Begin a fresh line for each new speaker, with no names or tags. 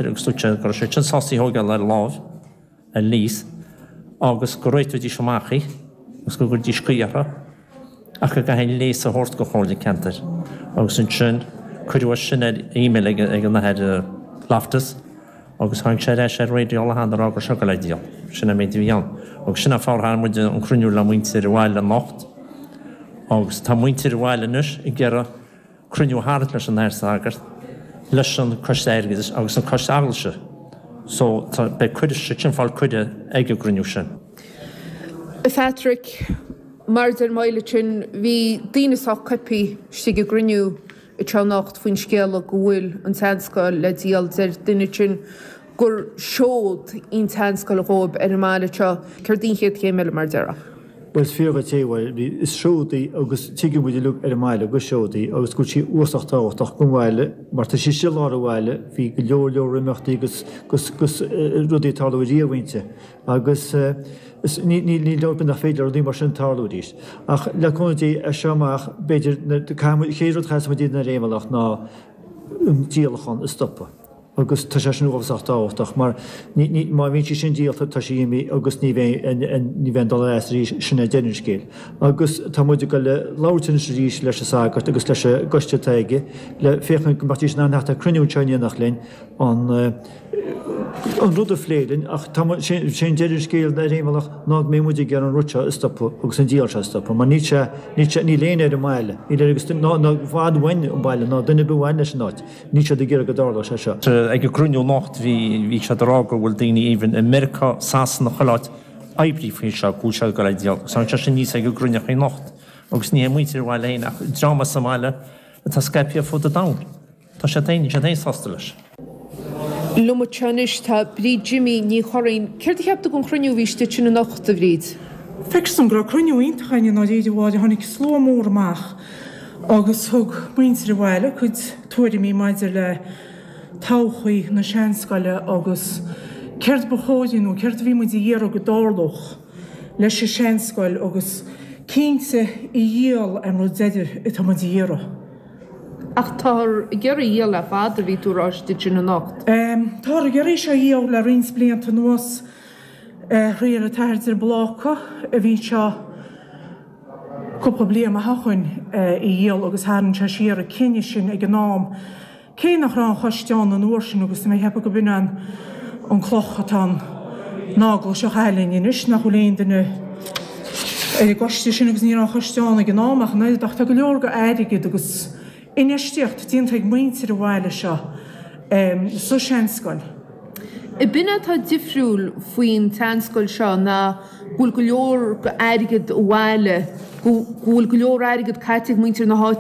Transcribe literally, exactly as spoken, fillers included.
Agus dúirt sé go raibh sé sin sásta í a thógáil ar láimh, ar lease, agus go réiteoidís amach í agus go gcuirfidís caoi uirthi ach go gcaithfí an léas a thabhairt go Chomhairle Ceantair. Agus ansin cuireadh é sin ar email ag ag an Athair Loftus agus tháinig sé ar ais ar raidió le hAnn a rá go raibh sé ag dul á díol. Sin an méid a bhí ann. Agus sin an fáth ar tharraing muid an cruinniú le muintir an bhaile anocht agus tá muintir an bhaile anois ag iarraidh cruinniú a tharraingt leis an Athair Sagart, leis an Coiste Airgeadais agus an Coiste Eaglaise. So tá, beidh cuireadh, siad sin ag fáil cuireadh ag an gcruinniú sin.
A Phatrick, mar a deir Myles ansin, bhí daoine sách coipthe istigh i gcruinniú anseo anocht faoin scéala go bhfuil an tseanscoil le díol. Deir duine ansin gur seoid í an tseanscoil dhóibh ar an mbaile seo. Céard í an chéad chéim eile mar a déarfá?
Bhuel, is fíor dhuit é, bhuel, is seoid í agus tuigeann muid uilig ar an mbaile gur seoid í agus go bhfuil sí uafásach tábhachtach don bhaile mar tá sí istigh i lár an bhaile, bhí go leor leor imeachtaí agus agus agus rudaí ag tarlú riamh inti agus is ní ní ní leor nach féidir le rudaí mar sin tarlú arís. Ach le cúnamh Dé as seo amach b'fhéidir caithfidh muid, chéad rud a chaithfeas muid a dhéanamh ar aon bhealach ná an díolachán a stopadh. Agus tá sé sin uafásach tábhachtach mar ní, ní, má bhíonn sí sin díolta tá sí imithe agus ní bheidh, ní bheidh aon dul as arís, sin é deireadh an scéil. Agus tá muid ag dul a labhairt anois arís leis an sagart agus leis an gcoiste atá aige le féachaint go mbeadh in ann theacht ar cruinniú anseo in éineacht linn an, an rud a phlé linn ach tá muid, sé, sé an deireadh an scéil ar aon bhealach ná go mbeidh muid ag iarraidh an rud seo a stopadh agus an díol seo a stopadh mar níl sé, níl sé, níl éinne ar an mbaile, níl ar agus ná, ná i bhfad uainn an baile ná duine ar bith a bhain leis an áit. Níl siad ag iarraidh go dtarlódh sé seo.
Ag an gcruinniú anocht bhí bhí siad ag rá go bhfuil daoine even i Meiriceá, Sasana, chuile áit oibrí faoi seo, go bhfuil sé ag dul a dhíol. Agus tháinig sé sin aníos ag an gcruinniú anocht. Agus ní hé muintir an bhaile féin ach dream as an mbaile atá scaipthe ar fud an domhain. Tá siad féin, níl siad féin sásta leis.
Liom anseo anois tá Bríd Jimmy Ní Churraoin. Céard a cheap tú den chruinniú a bhí istigh ansin anocht, a Bhríd?
Feictear dom go raibh cruinniú iontach againn i ndáiríre, a Mháire. Tháinig slua mór amach agus thug muintir an bhaile a gcuid tuairimí maidir le todhchaí na seanscoile agus céard ba chóir nó céard a bhí muid a iarraidh go dtarlódh leis an seanscoil agus cinnte í a dhíol an rud deiridh atá muid a iarraidh.
Ach táthar ag iarraidh í a dhíol le fada, bhí tú ag rá istigh ansin anocht.
Táthar ag iarraidh seo a dhíol le roinnt blianta anuas. Thriail an tAthair de Bláca a bhí anseo cúpla bliain amach ó shoin í a dhíol agus tharraing sé siar an cinneadh sin ag an am, cé nach raibh an choiste ann an uair sin agus tá mé ag ceapadh go b'in an an cloch atá an eaglais seo a chaitheamh linn anois, nach bhfuil aon duine ar an gcoiste sin agus ní raibh an choiste ann ag an am ach an oiread ach tá go leor go airgead agus infheistíocht déanta ag muintir an bhaile seo sa seanscoil.
B'in é atá difriúil faoin tseanscoil seo ná go bhfuil go leor airgead an bhaile, go bhfuil go leor airgead caite ag muintir na háite.